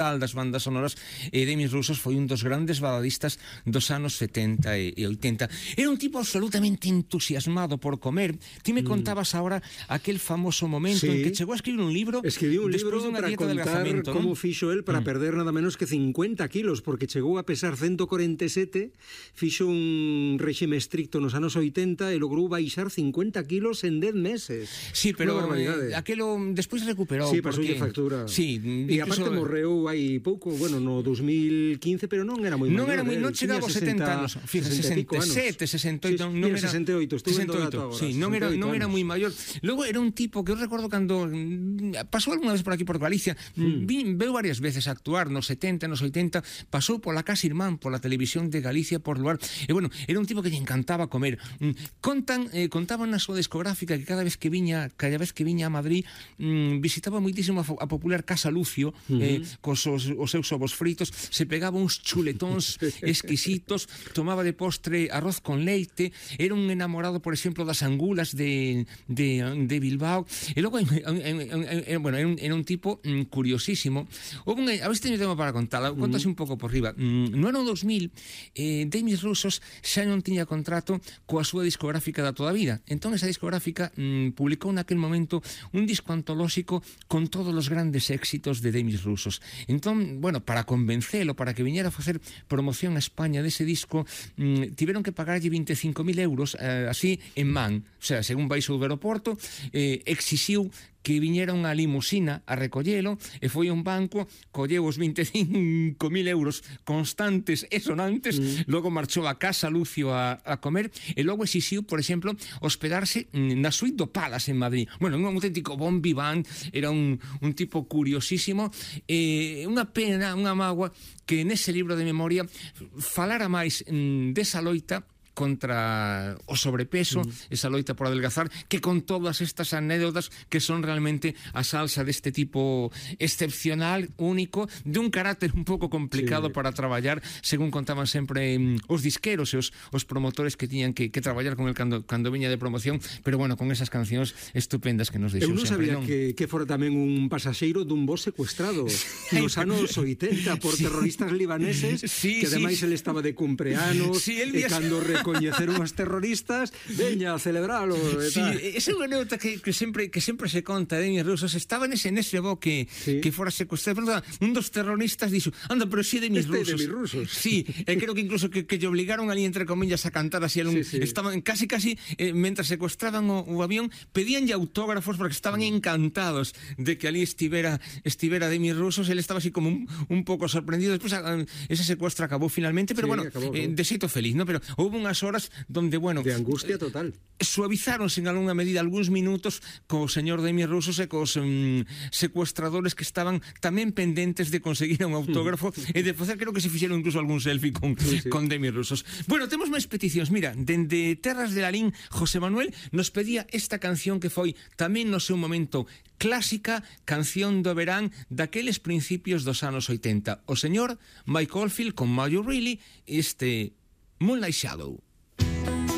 das bandas sonoras, Demis Roussos foi un dos grandes baladistas dos anos 70 e 80. Era un tipo absolutamente entusiasmado por comer. Ti me contabas ahora aquel famoso momento en que chegou a escribir un libro. Escribiu un libro dunha para dieta de contar adelgazamento, como non? fixo el para perder nada menos que 50 kilos, porque chegou a pesar 147, fixo un réxime estricto nos anos 80 e logrou baixar 50 kilos en 10 meses. Sí, pero barbaridade. aquelo despois recuperou. Sí, pasoulle factura. Sí, e aparte morreu hai pouco, bueno, no 2015, pero non era moi maior. Non chegaba aos 70 anos. Fíjate, 67, 68, non era 68, estuve en dato agora. Sí, non era moi maior. Logo era un tipo que eu recordo cando pasou algunha vez por aquí por Galicia, veu varias veces a actuar nos 70, nos 80, pasou pola Casa Irmán, pola televisión de Galicia, por lugar. E bueno, era un tipo que lle encantaba comer. Contaban na súa discográfica que cada vez que viña a Madrid, visitaba moitísimo a popular Casa Lucio, cos os seus ovos fritos, se pegaba uns chuletóns exquisitos, tomaba de postre arroz con leite, era un enamorado, por exemplo, das angulas de Bilbao, e logo era un tipo curiosísimo. A ver se teño tema para contar, contase un pouco por riba. No ano 2000, Demis Roussos xa non tiña contrato coa súa discográfica da toda a vida, entón esa discográfica publicou naquel momento un disco antolóxico con todos os grandes éxitos de Demis Roussos. Entón, bueno, para convencelo, para que viñera a facer promoción a España dese disco, tiveron que pagarlle 25.000 euros así en man. O sea, según baixou do aeroporto, exixiu que viñera unha limusina a recollelo e foi a un banco, colleu os 25.000 euros constantes e sonantes, logo marchou a Casa Lucio a comer e logo exixiu, por exemplo, hospedarse na suite do Palace en Madrid. Bueno, un auténtico bon vivant, era un tipo curiosísimo, unha pena, unha mágoa que nese libro de memoria falara máis desa loita contra o sobrepeso, esa loita por adelgazar, que con todas estas anécdotas que son realmente a salsa deste tipo excepcional, único, de un carácter un pouco complicado para traballar, según contaban sempre os disqueros e os promotores que tiñan que traballar con el cando viña de promoción, pero bueno, con esas cancións estupendas que nos deixou sempre. Eu non sabía que fora tamén un pasaxeiro dun voo secuestrado nos anos 80 por terroristas libaneses, que ademais ele estaba de cumpleanos, e cando recoñeceron os terroristas, veña a celebralo. Sí, esa é unha anécdota que sempre se conta de Demis Roussos. Estaba nese voo que fora secuestrado, un dos terroristas dixo, anda, pero si Demis Roussos. Sí, creo que incluso que lle obligaron ali, entre comillas, a cantar así. Estaban casi, mentras secuestraban o avión, pedíanlle autógrafos porque estaban encantados de que ali estivera Demis Roussos. Ele estaba así como un pouco sorprendido. Despois ese secuestro acabou finalmente, pero bueno, de xeito feliz, ¿no? Pero houve unhas horas donde, bueno, de angustia total, suavizáronse en algunha medida algúns minutos co señor Demis Roussos e cos secuestradores que estaban tamén pendentes de conseguir un autógrafo e de facer, creo que se fixeron incluso algún selfie con Demis Roussos. Bueno, temos máis peticións. Mira, dende Terras de Lalín, José Manuel nos pedía esta canción que foi tamén no seu momento clásica, canción do verán daqueles principios dos anos 80. O señor Mike Oldfield con Are You Really, Moonlight Shadow.